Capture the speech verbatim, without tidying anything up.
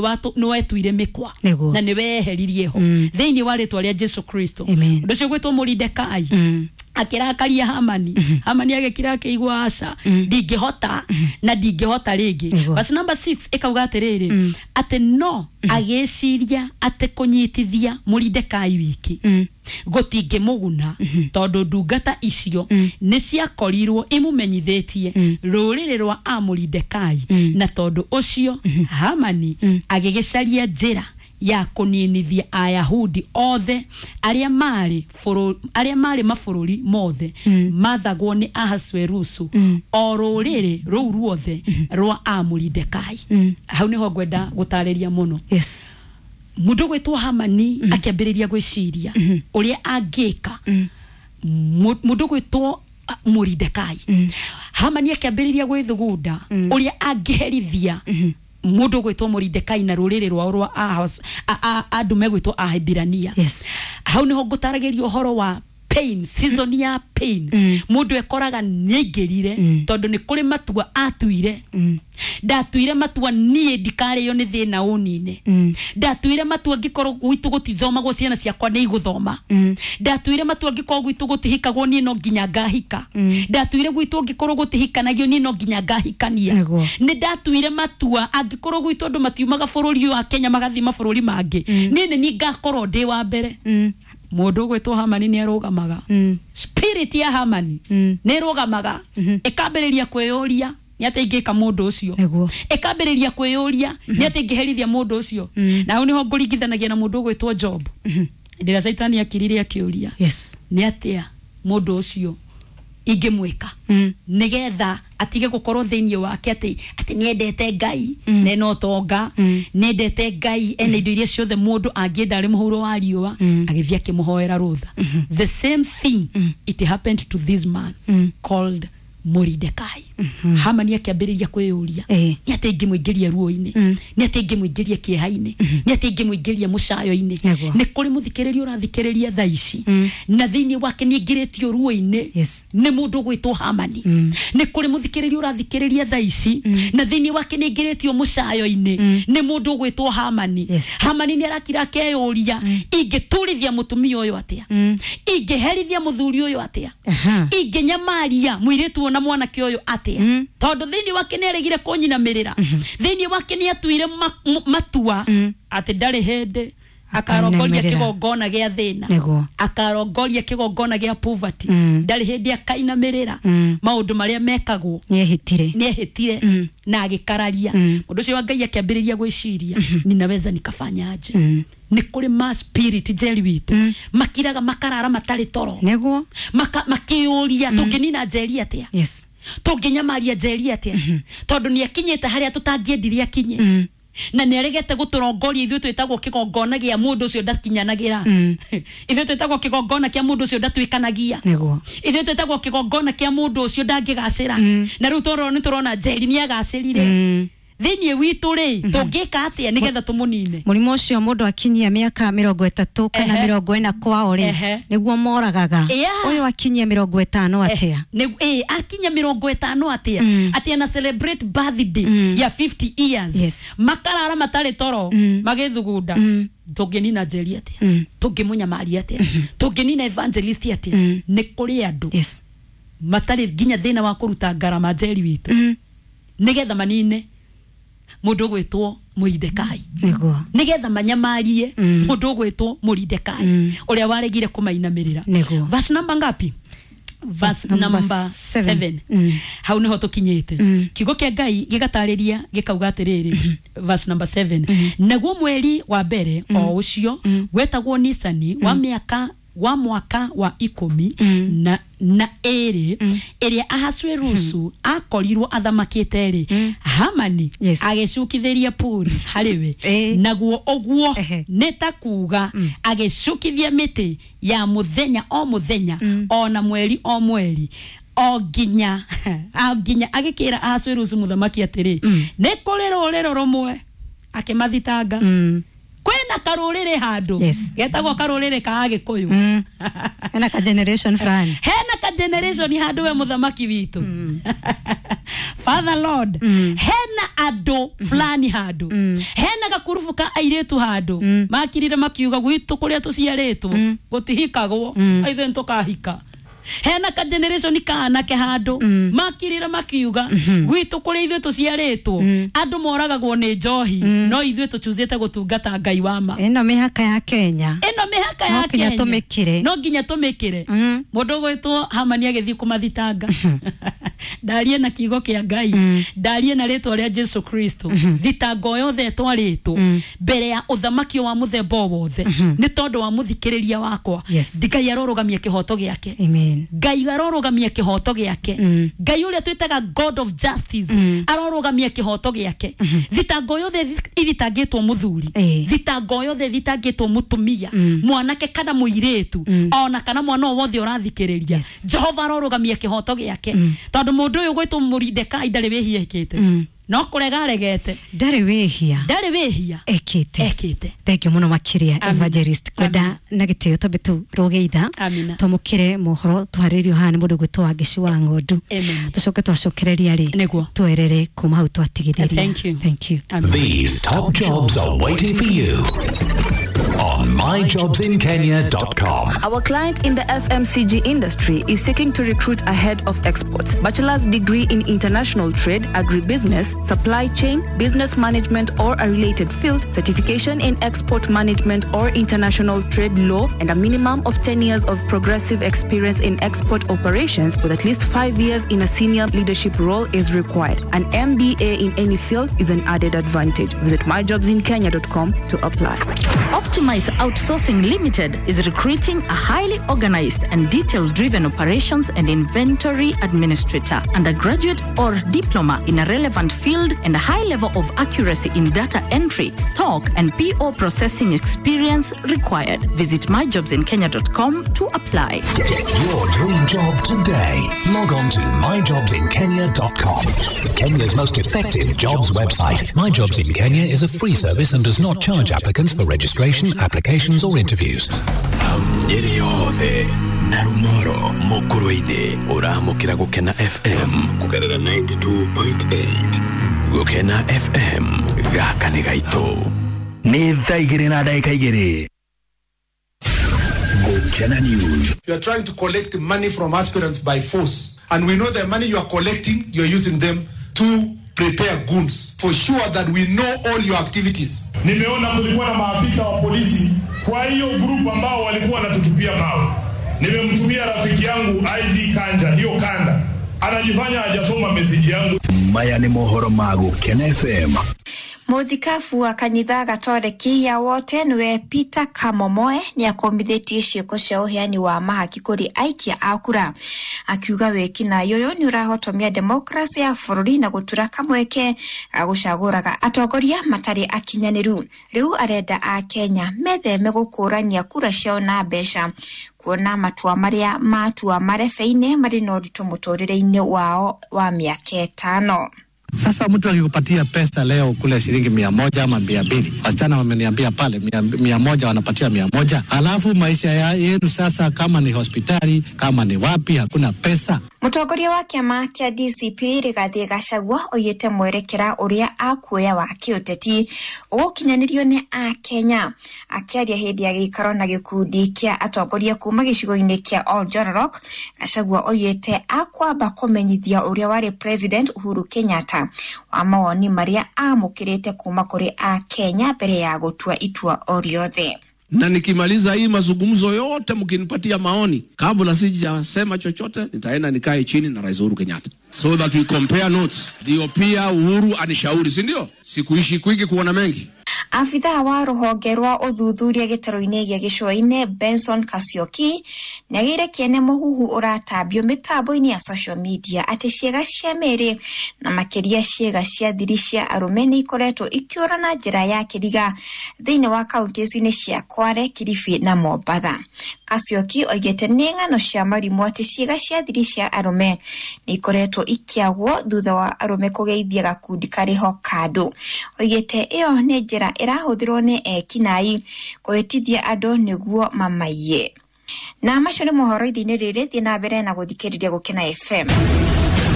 Nĩ wetuire mĩkwa Nĩguo. na nĩ weheririe ho Mm. thĩinĩ wa rĩtwa rĩa Jesu Kristo. Amen. Ũndũ ũcio gwĩtwo Mũridekai Mm. akĩrakaria Hamani. Hamani agĩkira akĩigua, aca, ndingĩhota na ndingĩhota rĩngĩ. Nĩguo. Verse number six ĩkauga atĩrĩrĩ, atĩ no agĩciria atĩ kũnyitithia Mũridekai wiki Mm. gũtingĩmũguna, tondũ ndungata icio nĩ ciakorirwo imũmenyithĩtie rũrĩrĩ rwa amũridekai. Na tondũ ũcio Hamani agĩgĩcaria njĩra ya kũninithia Ayahudi othe arĩa marĩ bũrũ- arĩa marĩ mabũrũri mothe mathagwo nĩ Ahasuerusu, o rũrĩrĩ rũu ruothe rwa amũridekai. Hau nĩho ngwenda gũtarĩria mũno. Yes. Mũndũ gwĩtwo Hamani akĩambĩrĩria gwĩciria ũrĩa angĩka Mu- mũndũ gwĩtwo ah, Mũridekai. Hamani akĩambĩrĩria gwĩthugunda ũrĩa angĩherithia mũndũ gwĩtwo Mũridekai na rũrĩrĩ rwao rwa Ahas- a- a- andũ megwĩtwo Ahibirania. Yes. Hau nĩho ngũtaragĩria ũhoro wa pain, season ya pain. Mũndũ ekoraga nĩaingĩrire tondũ nĩ kũrĩ matua atuire. Ndatuire matua, niĩ ndikarĩo nĩ thĩna ũnine. Ndatuire matua, ngĩkorwo gwitũ gũtithomagwo, ciana ciakwa nĩ igũthoma. Ndatuire matua, ngĩkorwo gwitũ gũtihikagwo, niĩ no nginya ngahika. Ndatuire gwitũ ngĩkorwo gũtihikanagio, niĩ no nginya ngahikania. Nĩguo. Nĩ ndatuire matua, angĩkorwo gwitũ andũ matiumaga bũrũri ũyũ wa Kenya magathiĩ mabũrũri mangĩ, niĩ nĩ niĩ ngakorwo ndĩ wa mbere. Mũndũ ũgwĩtwo Hamani nĩ arũgamaga. Spirit ya Hamani nĩ ĩrũgamaga, ĩkambĩrĩria kwĩyũria nĩ atĩa ingĩka mũndũ ũcio. Nĩguo. Ĩkambĩrĩria kwĩyũria nĩ atĩa ingĩherithia mũndũ ũcio. Na hau nĩho ngũringithanagia na mũndũ ũgwĩtwo Job, hĩndĩ ĩrĩa Caitani akirire akĩũria Yes. nĩ atĩa mũndũ ũcio ingĩmwĩka Mm. nĩgetha atige gũkorwo thĩinĩ wake atĩ atĩ nĩendete Ngai na ena ũtonga, nĩendete Ngai, ena indo iria ciothe mũndũ angĩenda arĩ mũhuro wa riũa. Agĩthiĩ akĩmũhoera rũtha. The same thing it happened to this man called Moridekai. Hamani akĩambĩrĩria kwĩyũria Eh. nĩ atĩ ingĩmũingĩria ruo-inĩ, nĩ atĩ ingĩmũingĩria kĩeha-inĩ, nĩ atĩ ingĩmũingĩria mũcayo-inĩ. Nĩguo. Nĩ kũrĩ mũthikĩrĩria ũrathikĩrĩria thaa ici na thĩinĩ wake nĩ aingĩrĩtio ruo-inĩ Yes. nĩ mũndũ ũgwĩtwo Hamani. Nĩ kũrĩ mũthikĩrĩria ũrathikĩrĩria thaa ici na thĩinĩ wake nĩ aingĩrĩtio mũcayo-inĩ nĩ mũndũ ũgwĩtwo Hamani. Yes. Hamani nĩ arakira akeyũria, ingĩturithia mũtumia ũyũ atĩa? Ingĩherithia mũthuri ũyũ atĩa? Aha. Ingĩnyamaria mũirĩtu ũyũ na mwanake ũyũ atĩa? Tondũ thĩinĩ wake nĩ aregire kũnyinamĩrĩra. Thĩinĩ wake nĩ atuire ma- m- matua atĩ ndarĩ hĩndĩ akarongoria Akainamĩrĩra. kĩgongona gĩa thĩna, Nĩguo. akarongoria kĩgongona gĩa poverty. Mm. Ndarĩ hĩndĩ akainamĩrĩra Mm. maũndũ marĩa mekagwo. Nĩehĩtire. Nĩehĩtire na agĩkararia. Mũndũ ũcio wa Ngai akĩambĩrĩria gwĩciria, ninaweza nikafanya aje? Nĩ kũrĩ ma spirit njeri witũ makiraga makarara matarĩ toro, Nĩguo. maka makĩyũria, tũngĩnina njeri atĩa? Yes. Tũngĩnyamaria njeri atĩa? Tondũ nĩ akinyĩte harĩa tũtangĩendire akinye, na nĩ aregete gũtũrongoria. Ithuĩ twĩtagwo kĩgongona gĩa mũndũ ũcio ndakinyanagĩra. Ithuĩ twĩtagwo kĩgongona kĩa mũndũ ũcio ndatuĩkanagia. Nĩguo. Ithuĩ twĩtagwo kĩgongona kĩa mũndũ ũcio ndangĩgacĩra. Na rĩu tũrona nĩ tũrona njeri nĩ agacĩrire. Thĩinĩ witũ rĩ, tũngĩka atĩa nĩgetha tũmũnine? Mũrimũ ũcio mũndũ akinyia mĩaka mĩrongo ĩtatũ kana Ehe. mĩrongo ĩna kwao rĩ, Ehe. nĩguo moragaga. Yeah. Ũyũ akinyia mĩrongo ĩtano atĩa? Nĩ- ĩ, akinya mĩrongo ĩtano atĩa? Atĩ ana celebrate birthday ya fifty years, Yes. makarara matarĩ toro magĩthugunda, tũngĩnina njeri atĩa? Tũngĩmũnyamaria atĩa? Tũngĩnina evangelist atĩa? Nĩ kũrĩ andũ Yes. matarĩ nginya thĩna wa kũruta ngarama, njeri witũ, nĩgetha manine mũndũ ũgwĩtwo Mũridekai, Nĩguo. nĩgetha manyamarie mũndũ ũgwĩtwo Mũridekai ũrĩa waregire kũmainamĩrĩra. Nĩguo. Verse number ngapi? Verse Verse number number seven. seven. Mm. Hau niho tũkinyĩte. Kiugo kĩa Ngai gĩgatarĩria gĩkauga atĩrĩrĩ, verse number seven: naguo mweri wa mbere o ũcio wetagwo Nisani, wa mĩaka wa mwaka wa ikũmi na na ĩrĩ ĩrĩa Ahasuerusu akorirwo athamakĩte rĩ, Hamani Yes. agĩcukithĩria Puri harĩ we. Eh. Naguo ũguo Ehe. nĩ ta kuga agĩcukithia mĩtĩ ya mũthenya o mũthenya o na mweri o mweri, o nginya o nginya agĩkĩra Ahasuerusu mũthamaki atĩrĩ, nĩ kũrĩ rũrĩrĩ rũmwe akĩmathitanga. Mm. Kwĩna karũrĩrĩ handũ Yes. getagwo karũrĩrĩ ka Agĩkũyũ. Mm. Hena ka generation fulani. Hena ka generation handũ, we mũthamaki witũ. Father Lord, hena andũ fulani handũ, hena gakurubu ka airĩtu handũ makirire makiuga gwitũ kũrĩa tũciarĩtwo gũtihikagwo, ithuĩ nĩtũkahika. Hena ka generation ka anake handũ makirire makiuga gwitũ kũrĩa ithuĩ tũciarĩtwo andũ moragagwo nĩ njohi, no ithuĩ tũchuzĩte gũtungata Ngai wa ma. Ĩno mĩhaka ya Kenya, ĩno mĩhaka ya No nginya Kenya tũmĩkĩre. No nginya tũmĩkĩre. Mũndũ ũgwĩtwo Hamani agĩthiĩ kũmathitanga, ndarie na kiugo kĩa Ngai, ndarie na rĩtwa rĩa Jesu Kristo, thitango yothe ĩtwarĩtwo mbere ya ũthamaki wa mũthemba o wothe nĩ tondũ wa mũthikĩrĩria wakwa. Yes. Ngai arorũgamia kĩhoto gĩake. Amen. Ngai arorũgamia kĩhoto gĩake. Ngai ũrĩa twĩtaga God of justice arorũgamia kĩhoto gĩake. Thitango yothe ithitangĩtwo mũthuri, Eh. thitango yothe ithitangĩtwo mũtumia, mwanake kana mũirĩtu, ona kana mwana o wothe ũrathikĩrĩria, Yes. Jehova arorũgamia kĩhoto gĩake, tondũ mũndũ ũyũ gwĩtwo Moridekai ndarĩ wĩhia ekĩte, no kũrega aregete. Ndarĩ wĩhia Ndarĩ wĩhia ekĩte. Ekĩte. Thank you mũno makĩria, Amina. Evangelist. Kwenda na gĩtĩo twambe tũrũge itha, Amina. twamũkĩre mohoro tũharĩrio haha nĩ mũndũ gwĩtwo Wangeci wa Ng'ondu. Amen. Tũcoke twacokereria rĩ, Nĩguo. twerere kuma hau twatigithĩria. Thank you. Thank you. Amen. These top jobs are waiting for you on my jobs in kenya dot com. Our client in the F M C G industry is seeking to recruit a head of exports, bachelor's degree in international trade, agribusiness, supply chain, business management or a related field, certification in export management or international trade law, and a minimum of ten years of progressive experience in export operations with at least five years in a senior leadership role is required. An M B A in any field is an added advantage. Visit my jobs in kenya dot com to apply. Optimize Outsourcing Limited is recruiting a highly organized and detail-driven operations and inventory administrator, undergraduate or diploma in a relevant field, and a high level of accuracy in data entry, stock, and P O processing experience required. Visit my jobs in kenya dot com to apply. Get your dream job today. Log on to my jobs in kenya dot com. Kenya's most effective jobs website. My Jobs in Kenya is a free service and does not charge applicants for registration, applications or interviews. Nyeri yothe na Rumoro Mukurwe-ini uramukira Gukena F M kugerera ninety-two point eight. Gukena F M gaka ni gaitũ. Nĩ thaa igĩrĩ na ndagĩka igĩrĩ. Gukena News. You are trying to collect money from aspirants by force, and we know the money you are collecting, you are using them to prepare goons. For sure that we know all your activities. Nimeona kulikuwa na maafisa wa polisi kwa hiyo group ambao walikuwa wanatutupia mawe. Nimemtumia rafiki yangu I G Kanja, hiyo kanda. Anajifanya hajasoma message yangu. Maya ni mohoro ma Gukena F M. Mũthikabu wa kanitha Gatoreki ya wote niwe Peter Kamomoe ni akombithĩtie ciĩko cia ũheani wa mahaki kũrĩ aikia a kura, akiuga wĩkinaĩ ũyũ nĩ ũrahotomia demokrasia ya bũrũri na gũtura kamweke ga gũcagũraga atongoria matarĩ akinyanĩru. Rĩu arenda a Kenya metheme gũkũrania kura ciao na mbeca, kuona matua marĩa matua marebe-inĩ marĩ na ũritũ mũtũrĩre-inĩ wao wa mĩaka ĩtano. Sasa mtu akikupatia pesa leo kule shilingi mia moja ama mia mbili, wasichana wameniambia pale mia, mia moja wanapatia mia moja, alafu maisha ya yenu sasa kama ni hospitali kama ni wapi hakuna pesa. Mũtongoria wa kĩama kĩa D C P Rigathi Gachagua oigĩte mwerekera ũrĩa akuoya wa kĩũteti ũgũkinyanĩrio nĩ Akenya. Akĩaria hĩndĩ ya gĩikaro na gĩkundi kĩa atongoria kuma gĩcigo-inĩ kĩa Oljororok, Gachagua oigĩte akwamba kũmenyithia ũrĩa warĩ President Uhuru Kenyatta wa mawoni marĩa amũkĩrĩte kuma kũrĩ Akenya mbere ya gũtua itua o rĩothe. Na nikimaliza hii mazungumzo yote mkinipatia maoni, kabla sijasema chochote nitaenda nikae chini na Rais Uhuru Kenyatta so that we compare notes. Ndio pia Uhuru anishauri, si ndio? Sikuishi kwingi kuona mengi. Afithaa wa rũhonge rwa ũthuthuria gĩtarũ-inĩ gĩa gĩcũa-inĩ Benson Kasioki nĩagĩire kĩene mũhuhu ũratambio mĩtambo-inĩ ya social media atĩ ciĩga cia mĩĩrĩ na makĩria ciĩga cia thiri cia arũme nĩ ikoretwo ikĩũra na njĩra ya kĩriga thĩinĩ wa kaunti-inĩ cia Kwale, Kilifi na Mombatha. Kasioki oigĩte nĩ ng'ano cia marimũ atĩ ciĩga cia thiri cia arũme nĩ ikoretwo ikĩagwo thutha wa arũme kũgeithia gakundi karĩho kandũ. Oigĩte ĩyo nĩ njĩra ĩrahũthĩrwo nĩ ekinaĩ kũhĩtithia andũ nĩguo mamaiye. Na macio nĩ mohoro ithiinĩ rĩrĩ, thiĩ na mbere na gũthikĩrĩria Gũkena F M.